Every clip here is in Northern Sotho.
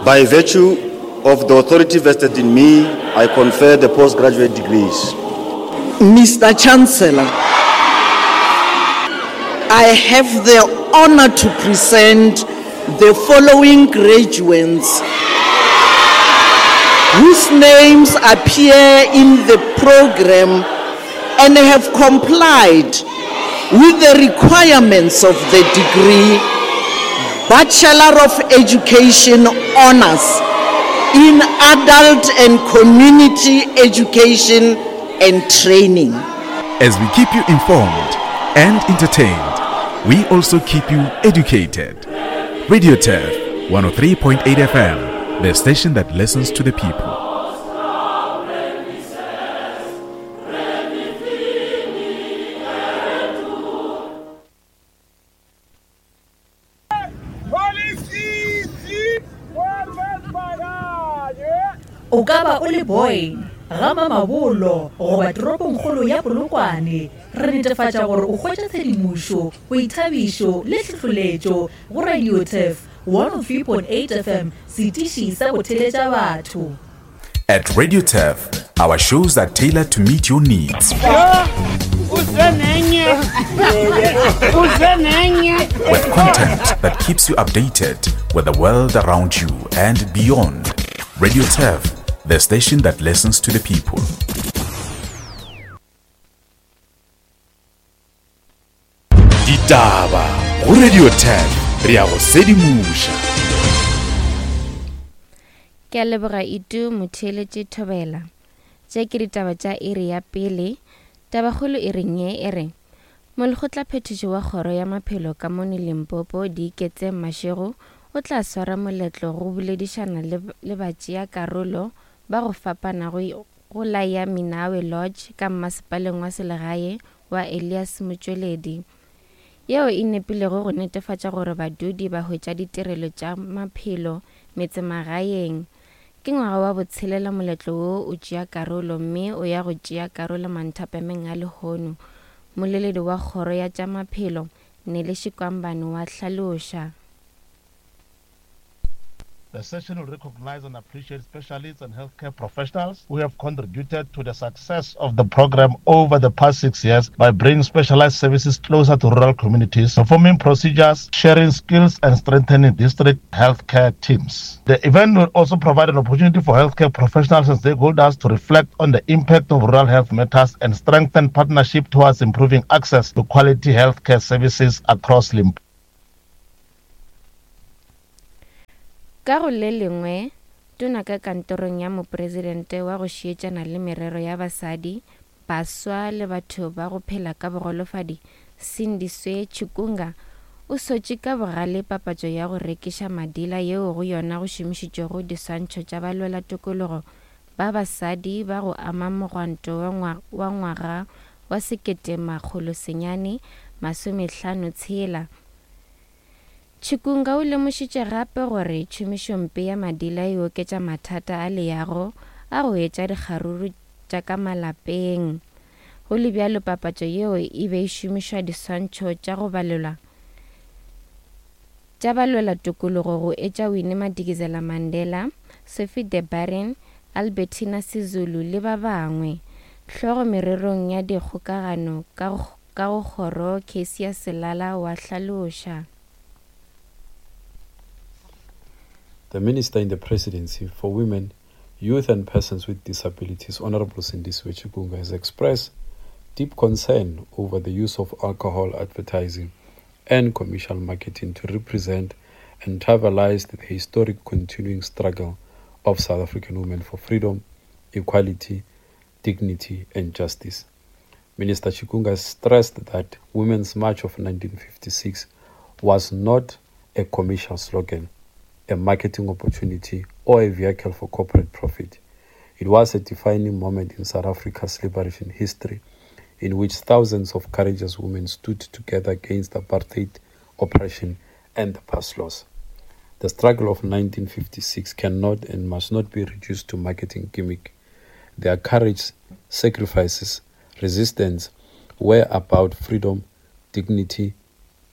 By virtue of the authority vested in me, I confer the postgraduate degrees. Mr. Chancellor, I have the honor to present the following graduates whose names appear in the program and have complied with the requirements of the degree Bachelor of Education Honors in Adult and Community Education and Training. As we keep you informed and entertained, we also keep you educated. Radio Turf 103.8 FM, the station that listens to the people. O ka ba o le Boyne, ga Mamabolo goba toropongkgolo ya Polokwane, re netefatša gore o hwetša tshedimošo, boithabišo le tlhohloletšo go Radio Turf 103.8 FM, setiši sa go theletša batho. At Radio Turf, our shows are tailored to meet your needs. With content that keeps you updated with the world around you and beyond. Radio Turf, the station that listens to the people. Ditaba go Radio 10 re ya go sedimoša. Ke a leboga Itu motheeletše Thobela. Tše ke ditaba tša iri ya pele. Tabakgolo e reng ye e re Molekgotlaphethiši wa Kgoro ya Maphelo ka mono Limpopo Diiketseng Mashego o tla swara moletlo go boledišana le le batšeakarolo ba go fapana go go la ya Minawe Lodge ka mmasepaleng wa selegae wa Elias Motšweledi, yeo e nepilego go netefatša gore badudi ba hwetša ditirelo tša maphelo metsemagaeng. Ke ngwaga wa botshelela moletlo wo o tšea karolo mme o ya go tšea karolo manthapameng a lehono, moleledi wa Kgoro ya tša Maphelo, Nelly Shikwambane wa hlaloša. The session will recognize and appreciate specialists and healthcare professionals who have contributed to the success of the program over the past six years by bringing specialized services closer to rural communities, performing procedures, sharing skills, and strengthening district healthcare teams. The event will also provide an opportunity for healthcare professionals and stakeholders to reflect on the impact of rural health matters and strengthen partnership towards improving access to quality healthcare services across Limpopo. Ka go le lengwe, Tona ka Kantorong ya Mopresidente wa go Šietšana le Merero ya Basadi, Baswa le Batho ba go Phela ka Bogolofadi, Sindiswe Chikunga, o sotše ka bogale papatšo ya go rekiša madila yeo go yona go šomišitšwego diswantšho tša balwelatokologo ba basadi ba go ama mogwanto wa ngwaga wa 1956. Chikunga o lemošitše gape gore tšhomišompe ya madila e oketša mathata a leago a go etša dikgaruru tša ka malapeng. Go le bjalo papatšo yeo e be e šomišwa diswantšho tša go balelwa tša balwela tokologo go etša Winnie Madikizela Mandela, Sophie de Barren, Albertina Sisulu le ba bangwe. Hlogo mererong ya dikgokagano ka Ka go kgoro, Cassius Selala wa hlaloša. The Minister in the Presidency for Women, Youth and Persons with Disabilities, Honorable Sindisiwe Chikunga, has expressed deep concern over the use of alcohol advertising and commercial marketing to represent and trivialize the historic continuing struggle of South African women for freedom, equality, dignity and justice. Minister Chikunga stressed that Women's March of 1956 was not a commercial slogan, a marketing opportunity, or a vehicle for corporate profit. It was a defining moment in South Africa's liberation history in which thousands of courageous women stood together against apartheid oppression and the pass laws. The struggle of 1956 cannot and must not be reduced to marketing gimmick. Their courage, sacrifices, resistance were about freedom, dignity,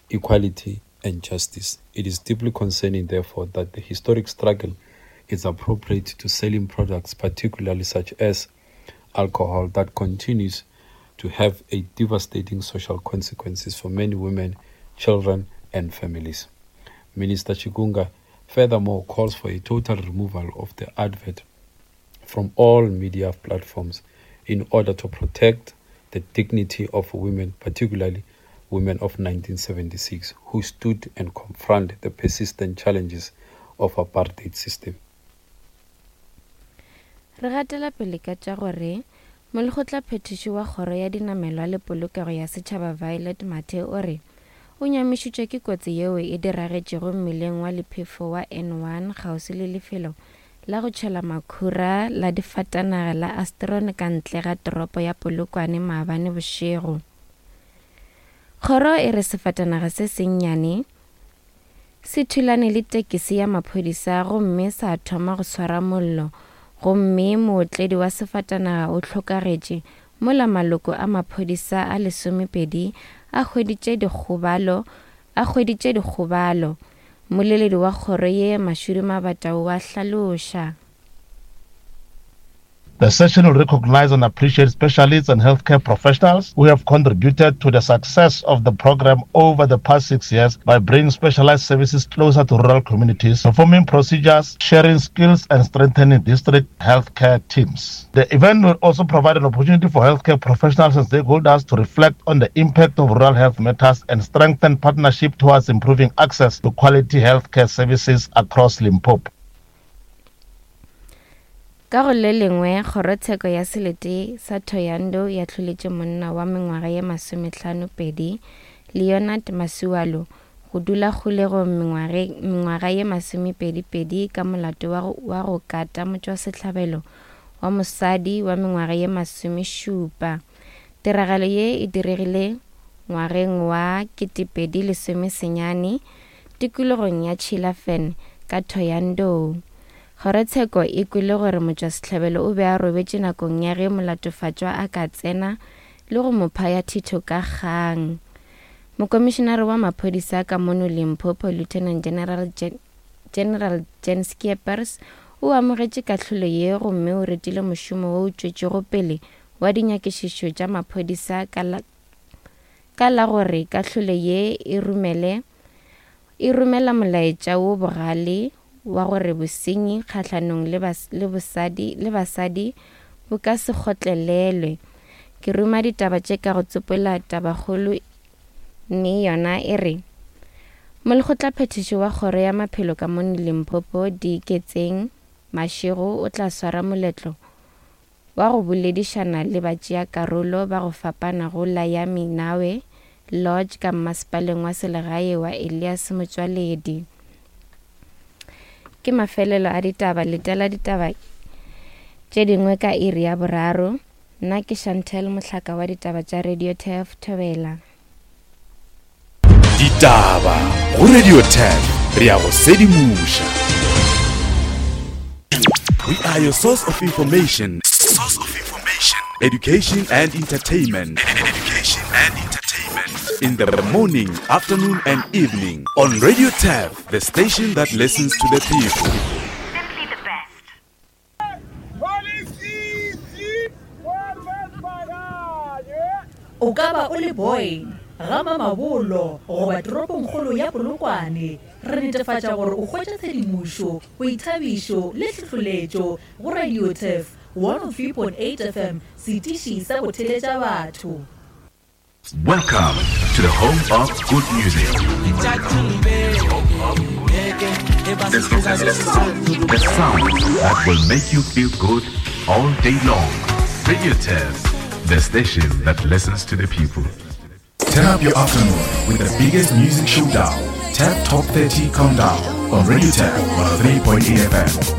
equality, and justice. It is deeply concerning, therefore, that the historic struggle is appropriate to selling products, particularly such as alcohol, that continues to have a devastating social consequences for many women, children, and families. Minister Chikunga furthermore calls for a total removal of the advert from all media platforms in order to protect the dignity of women, particularly women of 1976, who stood and confronted the persistent challenges of apartheid system. Re gatela pele ka tša gore Molekgotlaphethiši wa Kgoro ya Dinamelwa le Polokego ya Setšhaba Violet Mathe o re o nyamišitšwe ke kotsi yeo e diragetšego mmileng wa lephefo wa N1 kgauswi le lefelo la go tšhela makhura la difatanaga la Astron ka ntle ga toropo ya Polokwane maabane bošego. Kgoro e re sefatanaga se sennyane se thulane le tekisi ya maphodisa gomme sa thoma go swara mollo gomme mootledi wa sefatanaga o hlokagetše mola maloko a maphodisa a lesomepedi a hweditše dikgobalo a hweditše dikgobalo. Mmoleledi wa kgoro ye Mashudu Mabata o a hlaloša. The session will recognize and appreciate specialists and healthcare professionals who have contributed to the success of the program over the past six years by bringing specialized services closer to rural communities, performing procedures, sharing skills, and strengthening district healthcare teams. The event will also provide an opportunity for healthcare professionals and stakeholders to reflect on the impact of rural health matters and strengthen partnership towards improving access to quality healthcare services across Limpopo. Ka go le lengwe, kgorotsheko ya selete sa Thohoyandou e ahloletše monna wa mengwaga ye masomehlano-pedi, Leonard Masualu, go dula kgolegong mengwaga ye masomepedi-pedi ka molato wa wa go kata motšwasehlabelo wa mosadi wa mengwaga ye masomešupa. Tiragalo ye e diregile ngwageng wa 2019 tikologong ya Chilafen ka Thohoyandou. Kgorotsheko e kwele gore motšwasehlabelo o be a robetše nakong ya ge molatofatšwa a ka tsena le go mo phaya thitho ka kgang. Mokomišenare wa maphodisa ka mono Limpopo, Lieutenant General General Jan Skeepers o amogetše kahlolo ye gomme o retile mošomo wo o tšwetšego pele wa dinyakišišo tša maphodisa ka la, ka la gore kahlolo ye e romele E romela molaetša wo bogale wa gore bosenyi kgahlanong le, le, bosadi, le basadi bo ka se kgotlelelwe. Ke ruma ditaba tše ka go tsopola tabakgolo mme yona e re, Molekgotlaphethiši wa Kgoro ya Maphelo ka mono Limpopo, Diiketseng Mashego o tla swara moletlo wa go boledišana le batšeakarolo ba go fapana go la ya Minawe Lodge ka mmasepaleng wa selegae wa Elias Motšwaledi. Ke mafelelo a ditaba, letela ditaba tše dingwe ka iri ya boraro. Nna ke Chantel Mohlaka wa ditaba tša Radio Turf Thobela. Ditaba go Radio Turf re ya go sedimoša. We are your source of information. Source of information. Education and entertainment. Education and entertainment. In the morning, afternoon, and evening on Radio Turf, the station that listens to the people. Simply the best. O ka ba o le Boyne, ga Mamabolo goba toropongkgolo ya Polokwane, re netefatša gore o hwetša tshedimošo, boithabišo le hlohloletšo go Radio Turf 103.8 FM, setiši sa go theletša batho. Welcome to the home of good music. The sound that will make you feel good all day long. Radio Test, the station that listens to the people. Turn up your afternoon with the biggest music showdown. Tap Top 30 Countdown on Radio Tap 103.8 FM.